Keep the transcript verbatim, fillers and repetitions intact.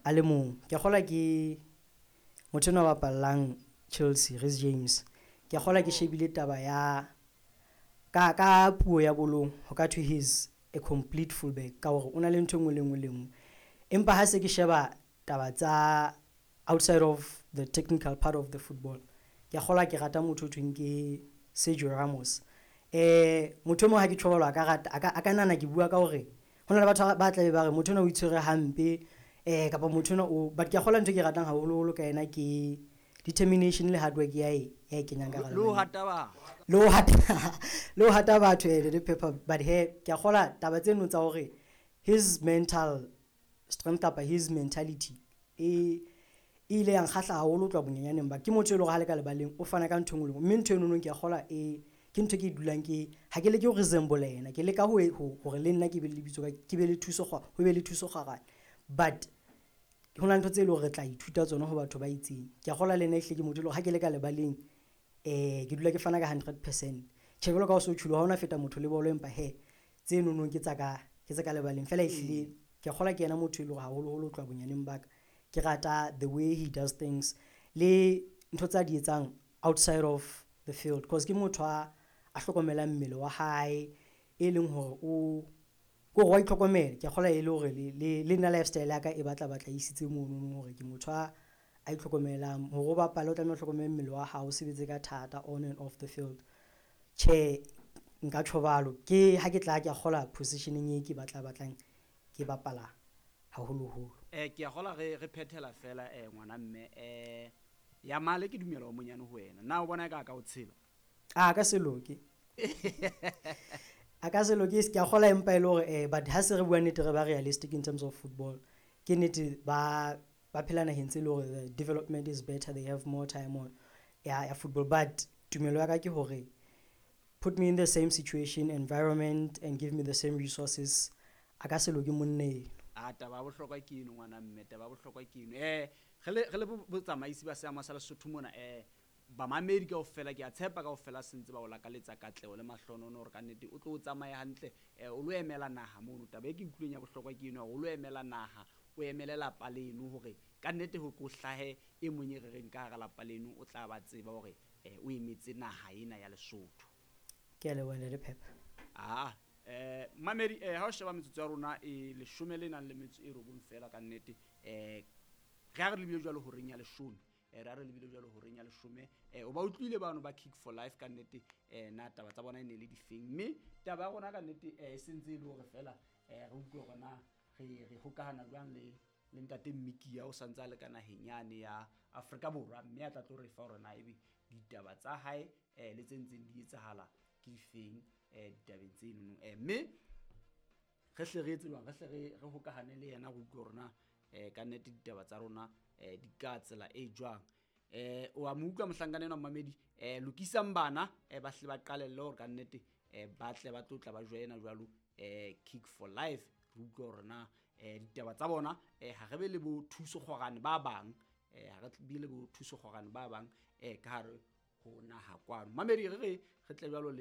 A le mong. Ke a kgolwa ke motho enwa a bapallang Chelsea, Reece James. Ke a kgolwa ke shebile taba ya ka ka puo ya bolong ho ka thwe he's a complete fullback ka hore o na le ntho e nngwe le nngwe le nngwe. Empa ha se ke sheba taba tsa outside of the technical part of the football, ke a kgolwa ke rata motho ho thweng ke Sergio Ramos. Eh motho e mong ha ke tjho jwalo a ka rata a ka a ka nahana ke bua ka hore ho na le batho ba tla be ba re motho enwa o itshwere hampe eh kapa motho enwa o, but ke a kgolwa ntho e ke ratang haholoholo ka yena ke determination le hard work ya e ya e kenyang ka hara Le ho lebaleng. hata batho. Le ho hata le ho hata batho eh le pepper, but he ke a kgolwa taba tseno tsa hore his mental strength kapa his mentality e e ile ya nkgahla haholo ho tloha bonyenyaneng ba ke motho e leng hore ha le ka lebaleng o fana ka ntho e nngwe le nngwe, mme ntho enono ke a kgolwa e ke ntho e ke dulang ke ha ke leke ho resemble yena, ke leka ho hore le nna ke be le lebitso ka ke be le thuso ho be le thuso kgwarane, but ho na le ntho tse leng hore re tla ithuta tsona ho batho ba itseng. Ke a kgolwa le nna ehlile ke motho e leng hore ha ke le ka lebaleng eh ke dula ke fana ka hundred percent. Tjhe, jwalo ka ha o so tjholo ha hona feta motho le bolo, empa he tse nonong ke tsa ka ke tsa ka lebaleng fela. Ehlile ke a kgolwa ke yena motho e leng hore haholoholo ho tloha bonyaneng ba ka ke rata the way he does things le ntho tsa di etsang outside of the field, cause ke motho a a hlokomelang mmele wa hae, e leng hore o ko hore wa itlhokomela. Ke a kgolwa e le hore le le le nna lifestyle ya ka e batla batla isitse mono hore ke motho a a itlhokomelang. Hore o bapale o tlameha o hlokomele mmele wa hao, o sebetse ka thata on and off the field. Tjhe, nka tjho jwalo ke ha ke tla ke a kgolwa positioning e ke batla batlang ke bapala haholoholo. Eh ke a kgolwa re re phethela fela eh ngwana mme eh ya male ke dumela o monyane ho wena. Na o bona eka a ka o tshela? A ka se loke, a ka se loke, ke a kgolwa, empa e le hore eh but ha se re bua nnete, re ba realistic in terms of football, ke nnete ba ba phela naheng tse le hore the development is better, they have more time on ya ya football, but tumelo ya ka ke hore put me in the same situation, environment and give me the same resources, a ka se loke monna eno. A taba ya bohlokwa ke eno, ngwana mme, taba ya bohlokwa ke eno. Eh re le re le botsamaisi ba seama sa Lesotho mona, eh bamamedi kaofela ke a tshepa kaofela sentse ba o lakaletsa katleho le mahlonono hore ka nnete o tlo o tsamaye hantle, eh o lo emela naha mono. Taba e ke utlwileng ya bohlokwa ke eno, hore o lo emela naha, o emele lapa leno, hore ka nnete ho ko hlahe e mong e re reng ka hara lapa leno o tla ba tseba hore eh o emetse naha ena ya Lesotho. Ke a leboha, Ntate Pepper. Ah eh mamedi, eh ha o sheba metsotso ya rona e leshome le nang le metso e robong fela, ka nnete eh re a re lebile jwalo horeng ya leshome, eh re a re lebile jwalo horeng ya leshome. eh o ba utlwile bano ba Kick for Life, ka nnete eh na taba tsa bona e ne le difeng? Mme taba ya rona ka nnete eh e sentse e le hore fela eh re utlwe hore na re re hokahana jwang le le ntate Mmikia o santse a le ka naheng yane ya Afrika Borwa, mme a tla tlo re fa hore na ebe ditaba tsa hae eh le tse ntseng di etsahala ke difeng eh ditabeng tseno, eh mme re hle re etse jwang, re hle re re hokahane le yena, re utlwe hore na eh ka nnete ditaba tsa rona eh di ka tsela e jwang. eh o a mo utlwa mohlankana enwa, mmamedi, eh lokisang bana eh ba hle ba qalelle hore ka nnete eh ba tle ba tlo tla ba joina jwalo eh Kick for Life, re utlwe hore na eh ditaba tsa bona. eh ha re be le bo thuso kgorane ba bang, eh ha re be le bo thuso kgorane ba bang eh ka hare ho naha kwano. Mamedi, re re re tle jwalo le.